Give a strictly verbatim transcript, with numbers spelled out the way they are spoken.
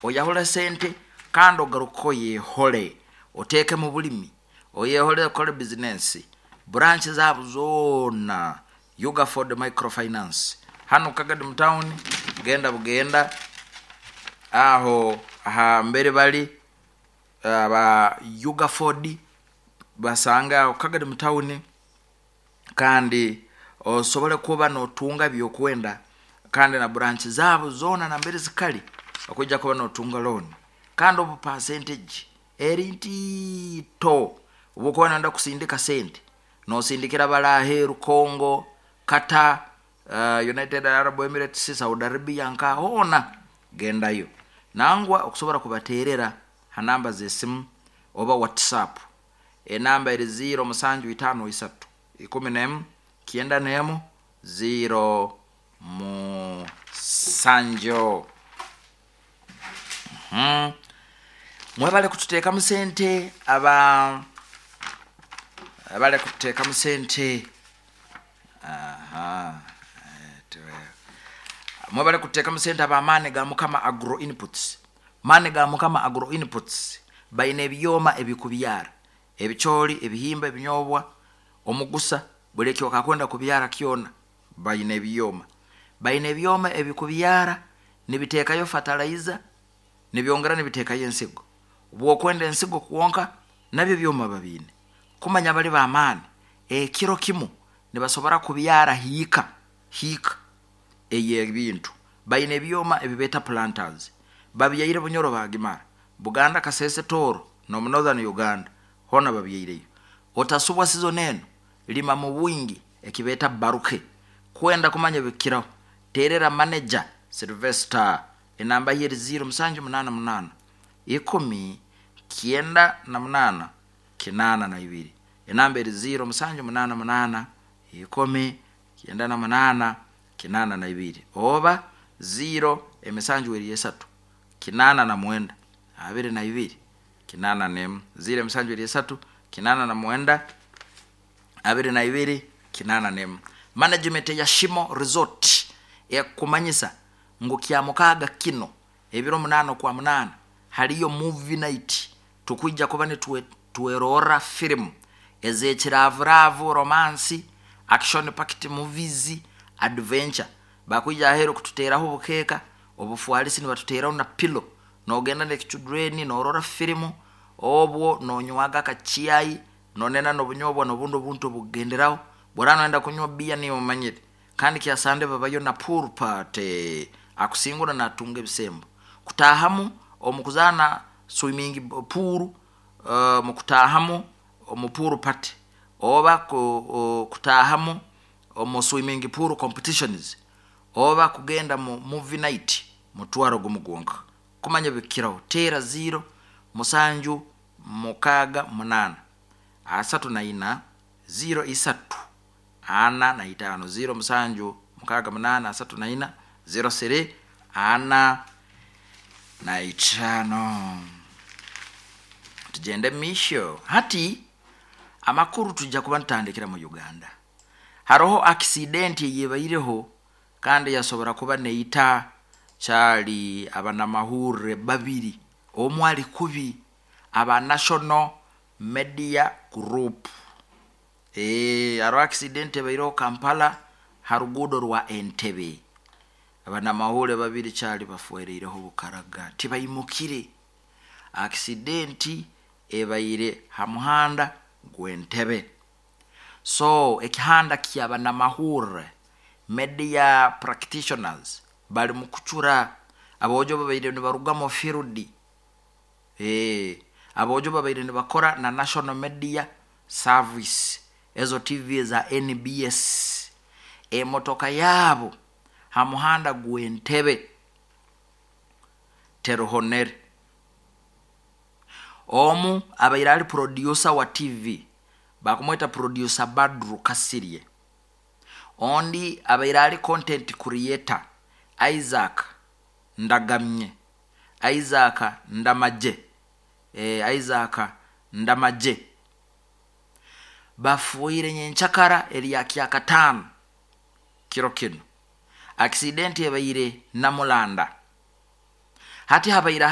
Oyahule sente kandi ogaruke oyehole, oteeke mu bulimi, oyehole, okole bizinensi. Branch zaabo zoona, Ugaford Microfinance hanu Kagadi mu town, genda bugenda aho ahambere bali aba Ugaford, basanga aho Kagadi mu town, kandi osobole kuba notunga byokwenda, kandi na branch zaabo zoona nambere zikali okwijja kuba notunga loan, kandi obu percentage eri ntiito. Obu okuba noyenda kusindika sente, nosindikira bali aheeru, Congo, Qatar, uh, United Arab Emirates, Saudi Arabia, nka hoona gendayo. Nangwa okusobora kubateerera ha namba z'esimu oba WhatsApp, enamba eri ziro musanju itaano isatu ikumi n'emu kyenda n'emu ziro musanju. Mhm. Mwebale kututeekamu sente, aba bale kututeekamu sente. Aha, mwebale kututeekamu sente ab'Amaani ga Mukama Agro Inputs. Maani ga Mukama Agro Inputs baine ebyoma ebikubyara ebicooli, ebihimba, ebinyobwa, omugusa, buli eki okakwenda kubyara kyona baine ebyoma. Baine ebyoma ebikubyara nibiteekayo fertilizer, nibyongera nibiteekayo ensigo. Bwokwenda ensigo kwonka, nabyo byoma babiine. Kumanya bali b'amaani, ekiro kimu nibasobora kubyara hiika hiika ey'ebintu. Baine ebyoma ebibeeta planters, babyaire Bunyoro bagimara, Buganda, Kasese, Tooro n'omu Northern Uganda hoona babyaireyo. Otasubwa season enu, lima mu bwingi ekibeeta baruke. Kwenda kumanya ebikukiraho, teerera manager Sylvester, enamba ye eri ziro musanju munaana munaana ikumi kyenda na munaana kinaana na ibiri. Enamba eri ziro musanju munaana munaana ikumi kyenda na munaana kinaana na ibiri, oba ziro emisanju eri esatu kinaana na mwenda abiri na ibiri kinaana n'emu, ziro emisanju eri esatu kinaana na mwenda abiri na ibiri kinaana n'emu. Management ya Shimo Resort ekukumanyisa ngu Kyamukaaga kino ebiro munaana okwa munaana haliyo movie night. Tukwija kuba nitwerorra firimu ez'ekiraavuraavu, romance, action packed movies, adventure. Bakwija aheeru kututeeraho obukeeka obufwalisi, nibatuteeraho na pillow, nogenda n'ekichildren norora firimu, obwo nonywaga akachai, nonena n'obunyobwa n'obundi obuntu obukugenderaho. Bworaba noyenda kunywa biya, niwe omanyire. Kandi kyasande babayo na pool party, akusingura natunga ebisembo kutaahamu omu kuzaana swimming pool, uh, mu kutaahamu omu pool party oba ku, uh, kutaahamu omu swimming pool competitions oba kugenda mu movie night, mutwaro gumu gwonka. Kumanya bikiraho, teera ziro musanju mukaaga munaana asatu na ina ziro isatu ana na itaano, ziro musanju mukaaga munaana asatu na ina ziro siri ana na itaano. Tugende misho. Hati amakuru tujja kuba nitutandikira mu Uganda. Haroho accident eyebaireho kandi yasobora kuba neita kyali abanamahurre babiri, omu ali kubi, aba National Media Group. e, hariho accident ebaireho Kampala ha ruguudo rwa Entebe, abanamahurre babiri kyali bafwereireho bukaraga, tibaimukire. Accident ebaire ha muhanda gw'Entebe. So ekihanda ky'abanamahurre, media practitioners, bali mu kucura. Aboojo babaire nibaruga mu field, e, aboojo babaire nibakora na National Media Service, ezo T V za N B S, emotoka yaabo ha muhanda gw'Entebe teruhonere. Omu abaire ali producer wa T V, bakumweta Producer Badru Kasirye. Ondi abaire ali content creator Isaac Ndagamye, Isaac Ndamaje, e, Isaac Ndamaje. Bafuire nyenkyakara erya Kyakataano kiro kino. Accident ebaire Namulanda. Hati habaire.